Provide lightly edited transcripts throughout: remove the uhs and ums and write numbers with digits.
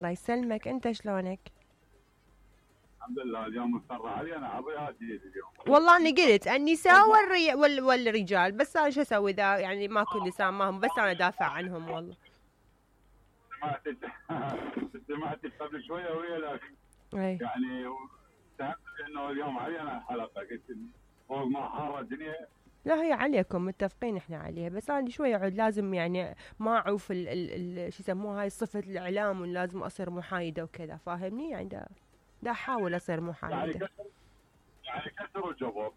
الله يسلمك، انت شلونك؟ الحمد لله. اليوم مضطر علي انا عضياتي اليوم. والله انا قلت النساء والرجال، بس انا شو اسوي ذا يعني ماكو نساء معهم، بس انا دافع عنهم والله. سمعت قبل شويه ويا لك اي يعني سمعت انه اليوم علي انا الحلقه، قلت فوق ما حاره الدنيا. لا هي عليكم، متفقين احنا عليها، بس انا شوي عود لازم يعني ما اعوف شو يسموها هاي صفة الاعلام، ولازم اصير محايدة وكذا، فاهمني؟ يعني دا احاول اصير يعني محايدة. كسر الجبر.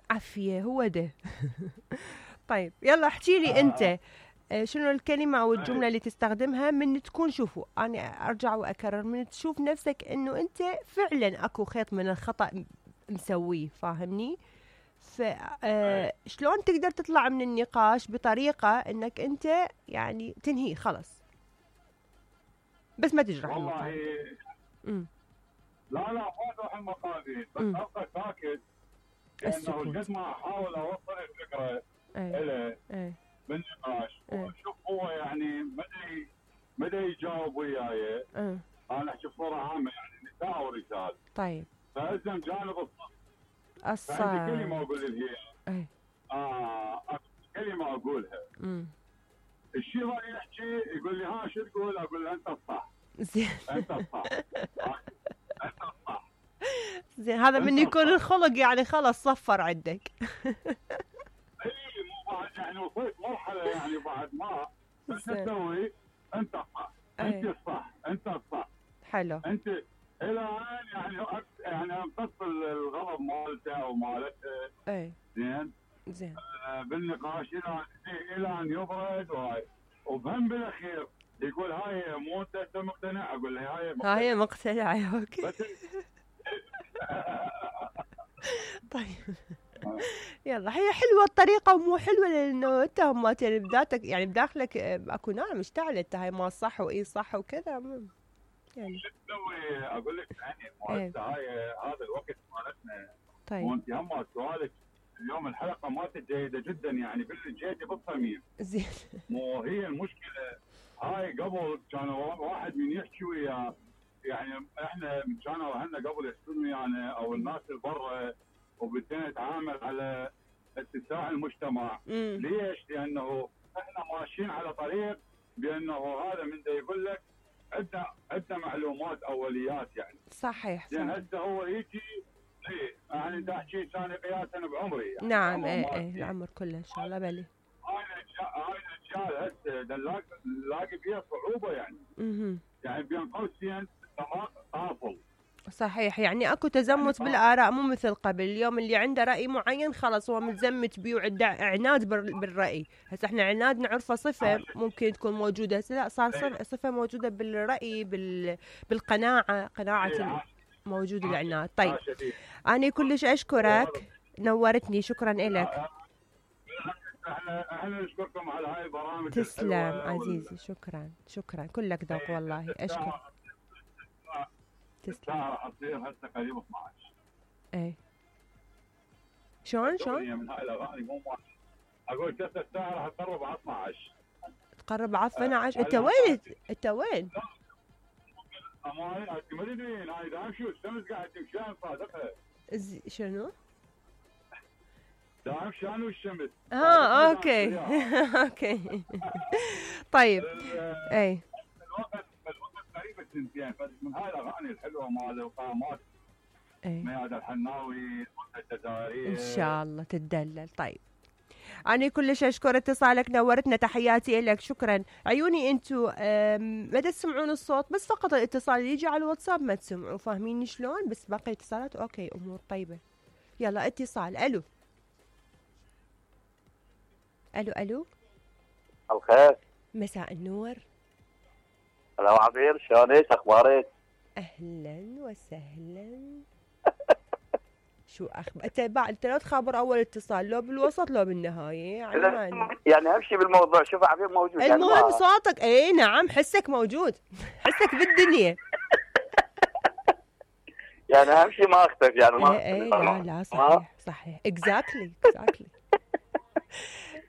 عافية هو ده. طيب يلا احكي لي انت، شنو الكلمة او الجملة اللي تستخدمها من تكون، شوفوا انا ارجع واكرر، من تشوف نفسك انه انت فعلا اكو خيط من الخطأ مسويه، فاهمني؟ شلون تقدر تطلع من النقاش بطريقة انك انت يعني تنهيه خلص، بس ما تجرح والله المقابل. لا ما تروح المقابل، بس ابقى ساكت، لانه قد ما احاول اوصل الفكره له بالنقاش وشوف هو يعني مدى يجاوب وياي. انا احكي بصوره عامه يعني نساء ورجال. طيب فالزم جانب الصح. فعندي كلمه اقول لها كلمه اقولها. الشيء اللي يحكي يقول لي ها شو تقول؟ اقول له انت الصح. زين انت الصح. انت الصح. زين هذا من يكون الخلق يعني خلص صفر عندك. اي مو بعد يعني وصلت مرحله يعني بعد ما شو تسوي؟ انت الصح. انت الصح. انت الصح. حلو. انت الى الان يعني امتص الغضب مالته او مالتها. اي زين بالنقاش الى ان يبرد وبهم بالاخير يقول هاي مو انت مقتنع؟ اقول له هاي مقتنعه. اوكي. طيب يلا هي حلوه الطريقه ومو حلوه، لانه انت هم بذاتك يعني بداخلك اكو نار مشتعله، انت هاي ما صح واي صح وكذا يعني شو تسوي؟ اقول لك يعني هاي هذا الوقت مالتنا. طيب وانت هم سؤالك اليوم الحلقه مالتك جيده جدا يعني جيده بالصميم. زين. مو هي المشكله هاي قبل كان واحد من يحكي وياه، يعني احنا كانوا اهلنا قبل يحكون ويانا او الناس اللي برا، وبدينا نتعامل على اتساع المجتمع. ليش؟ لانه احنا ماشيين على طريق بانه هذا من ده يقول لك عندنا معلومات اوليات يعني. صحيح. زين هسه هو يجي يعني انت تحكي ثاني قياسا بعمري يعني. نعم العمر كله ان شاء الله. بلي هاي الاشياء هسه نلاقي فيها صعوبه يعني. يعني بين قوسين طافل. صحيح، يعني اكو تزمت يعني بالاراء، مو مثل قبل. اليوم اللي عنده راي معين خلاص هو متزمت بيه وعنده عناد بالراي. هسه احنا عناد نعرفه صفه ممكن تكون موجوده، هسه لا صار صفه موجوده بالراي بالقناعه، قناعه موجود العناد. طيب انا كلش اشكرك، نورتني، شكرا لك. احنا نشكركم على هاي البرامج. تسلم عزيزي، شكرا كلك ذوق والله. اشكر. تسلم. راح تصير هسه قريب 12. ايه شلون من هاي الاغاني مو اقول هسه الساعه راح تقرب على 12. تقرب على 12. انت وين؟ انت وين؟ ما تدرين هاي دام شو الشمس قاعد تمشي صادقها. شنو؟ دام شانو الشمس. اوكي. اوكي. طيب اي الوقت قريب السنتين، من هاي الاغاني الحلوه مال القامات. مياد الحناوي الجزائريه ان شاء الله تتدلل. طيب أنا كلش أشكر اتصالك، نورتنا، تحياتي لك، شكرا. عيوني أنتو ما تسمعون الصوت، بس فقط الاتصال اللي يجي على الواتساب ما تسمعوا، فاهمين شلون؟ بس باقي الاتصالات أوكي، أمور طيبة. يلا اتصال. ألو ألو ألو. الخير. مساء النور. هلا عبير، شلونك؟ أخبارك؟ أهلا وسهلا. شو انت لو تخابر اول اتصال، لو بالوسط لو بالنهايه يعني امشي بالموضوع. شوف عبير موجود المهم يعني صوتك. اي نعم حسك موجود، حسك بالدنيا. يعني امشي ما اختفي يعني ما. اي لا صحيح اكزاكتلي.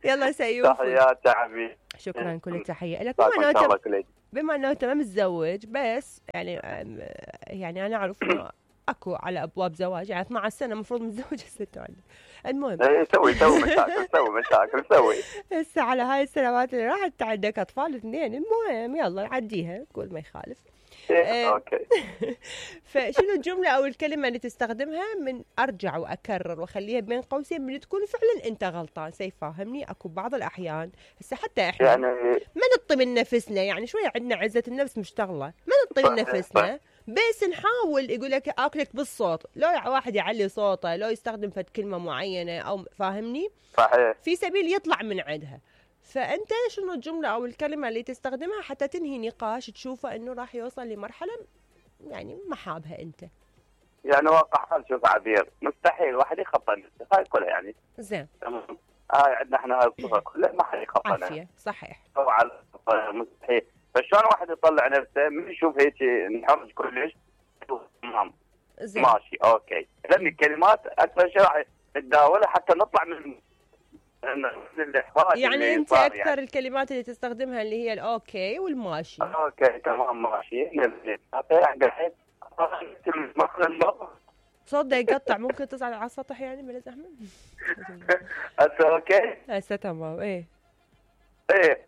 يلا سيوف. تحياتي حبيبي. شكرا، كل تحيه لك. بما انه انت ما متزوج بس يعني انا اعرف انه اكو على ابواب زواج، يعني 12 سنه المفروض متزوج هسه تعال. المهم ايه سوي مشاكل سوي. هسه على هاي السنوات اللي راحت عندك اطفال 2، المهم يلا نعديها كل ما يخالف. اوكي. فشنو الجمله او الكلمه اللي تستخدمها من ارجع واكرر واخليها بين قوسين من تكون فعلا انت غلطان؟ سيفهمني اكو بعض الاحيان هسه حتى احنا يعني ما نطي من نفسنا، يعني شويه عندنا عزه النفس مشتغله، ما نطي من نفسنا بس نحاول. يقول لك اكلك بالصوت، لو واحد يعلي صوته، لو يستخدم فد كلمه معينه او فاهمني صحيح في سبيل يطلع من عندها. فانت شنو الجمله او الكلمه اللي تستخدمها حتى تنهي نقاش تشوفه انه راح يوصل لمرحله يعني ما حابها انت؟ يعني واقع حال. شوف عبير، مستحيل واحد يخطى نفسه، هاي كلها يعني زين تمام. هاي عندنا احنا هاي الصفه كلها ما حد يخطى نفسه. عافيه صحيح. طبعا مستحيل. فشلون واحد يطلع نفسه من يشوف هيك انحرج كلش؟ تمام زين ماشي اوكي. لان الكلمات اكثر شيء راح نتداولها حتى نطلع من الاحراج. يعني انت اكثر يعني الكلمات اللي تستخدمها اللي هي الاوكي والماشي. اوكي تمام ماشي. صوت ده يقطع، ممكن تصعد على السطح يعني بلا زحمه؟ هسه اوكي هسه تمام. ايه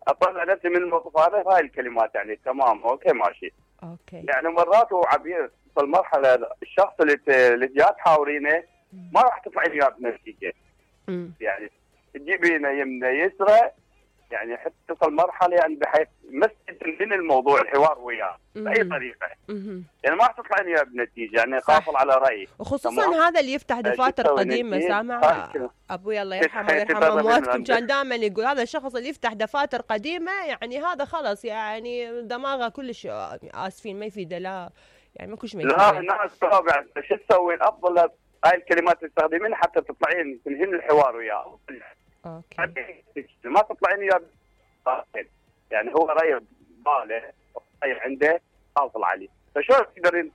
اطلع نفسي من الموقف هذا. هاي الكلمات يعني تمام اوكي ماشي. اوكي يعني مرات هو عبير في المرحله الشخص اللي جاي تحاورينه ما راح تطلعين وياه بنتيجه. يعني تجيبينه يمنى يسرى، يعني حتى تصل مرحله يعني بحيث من الموضوع الحوار وياه باي طريقه. يعني ما راح تطلعين وياه بنتيجه، يعني قافل على رايي. وخصوصا هذا اللي يفتح دفاتر قديمه. سامع ابوي الله يرحمه ويرحم امواتكم كان دائما يقول هذا الشخص اللي يفتح دفاتر قديمه يعني هذا خلص يعني دماغه كلش اسفين ما يفيده. لا يعني ماكو شيء ما يفيده. لا الناس طبعا شو تسوي؟ الافضل هاي الكلمات تستخدمين حتى تطلعين تنهين الحوار وياه. اوكي ما تطلعين وياه يعني هو راي باله راي عنده حاصل عليه. فشلون تقدرين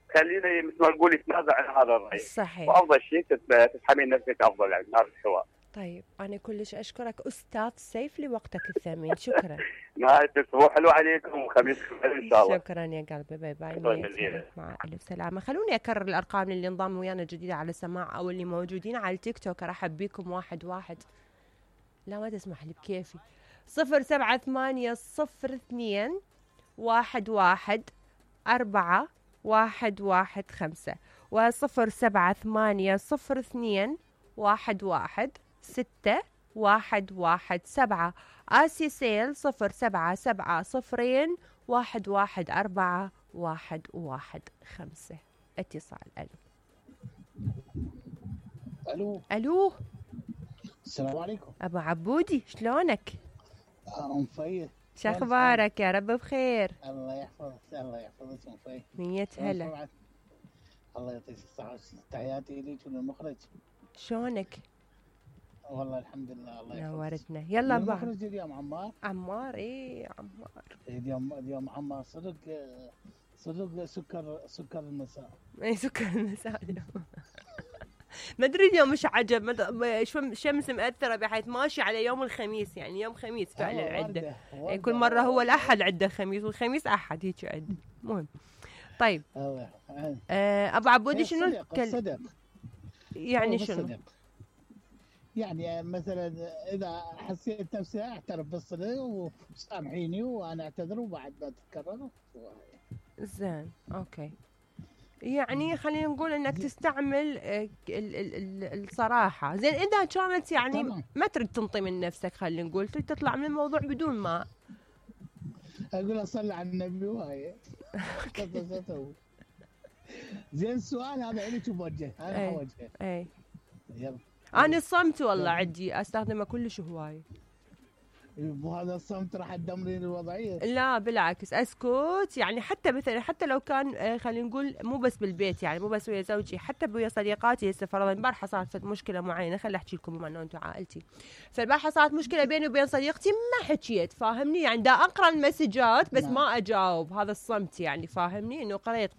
تخليني مثل ما نقول يتنازع عن هذا الراي؟ صحيح. وافضل شيء تسحبين نفسك افضل يعني من هذا الحوار. طيب أنا كلش أشكرك أستاذ سيف لوقتك الثمين. شكرا. نهاية الأسبوع حلو عليكم وخميس خير إن شاء الله. شكرا يا قلبي. باي باي. مع ألف سلامة. خلوني أكرر الأرقام اللي انضموا ويانا جديدة على السماع أو اللي موجودين على التيك توك. أرحب بكم واحد. لا ما تسمح لي بكيفي. 07802 11 4 115 و07802 11 6117. آسي سيل 0770 114 115. اتصال. الو السلام عليكم. ابو عبودي شلونك؟ مفيد. شو اخبارك؟ يا رب بخير. الله يحفظك مفيد. 100 هلا. الله يعطيك الصحة. تحياتي ليك وللمخرج. شلونك؟ والله الحمد لله. الله يحفظك. نورتنا. يلا بقى. المخرج اليوم عمار. ايه عمار. اليوم عمار صدق سكر المساء. اي سكر المساء اليوم. ما ادري اليوم مش عجب الشمس مأثرة بحيث ماشي على يوم الخميس، يعني يوم خميس فعلا عنده. كل مرة هو الأحد عنده خميس والخميس أحد هيك عنده. مهم. طيب أبو عبودي شنو الصدق؟ يعني شنو؟ يعني مثلا إذا حسيت نفسي أعترف بالصدق وسامحيني وأنا أعتذر وبعد ما تتكرر. زين أوكي. يعني خلينا نقول انك تستعمل الصراحه. زين اذا كانت يعني ما تريد تنطي من نفسك، خلينا نقول تريد تطلع من الموضوع بدون ما اقول اصلي على النبي وهاي. زين السؤال هذا لك موجه. انا اوجهه. اي يلا. انا الصمت والله عندي استخدمه كلش هواي. وهذا الصمت راح تدمرين الوضعيه. لا بالعكس اسكت. يعني حتى مثلا حتى لو كان خلينا نقول مو بس بالبيت، يعني مو بس ويا زوجي، حتى ويا صديقاتي. هسه فرضا البارحه صارت مشكله معينه، خلي احكي لكم بما انه انتم عائلتي. فالبارحه صارت مشكله بيني وبين صديقتي ما حكيت، فاهمني؟ يعني دا اقرا المسجات بس ما اجاوب. هذا الصمت يعني فاهمني؟ انه قريت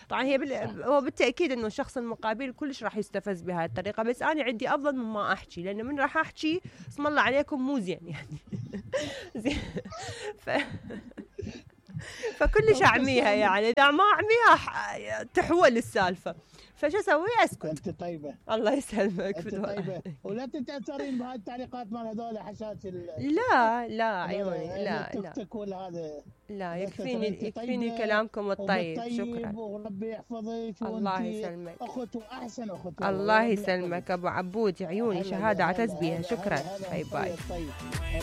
طبعا هي هو بالتاكيد انه الشخص المقابل كلش راح يستفز بهذه الطريقه، بس انا عندي افضل من ما احكي، لانه من راح احكي اسم الله عليكم مو زين يعني. زين فكلش اعميها يعني، اذا ما اعميها تحول السالفه، فشو اسوي؟ اسكت. انت طيبه، الله يسلمك. انت طيبه، ولا تتاثرين بهاي التعليقات مال هذول حشات لا عيوني، لا التيك توك ولا هذا. لا، يكفيني كلامكم الطيب. شكرا، وربي يحفظك. الله يسلمك، اخت واحسن اخت. الله يسلمك ابو عبود، عيوني شهاده اعتز بيها. شكرا، باي باي.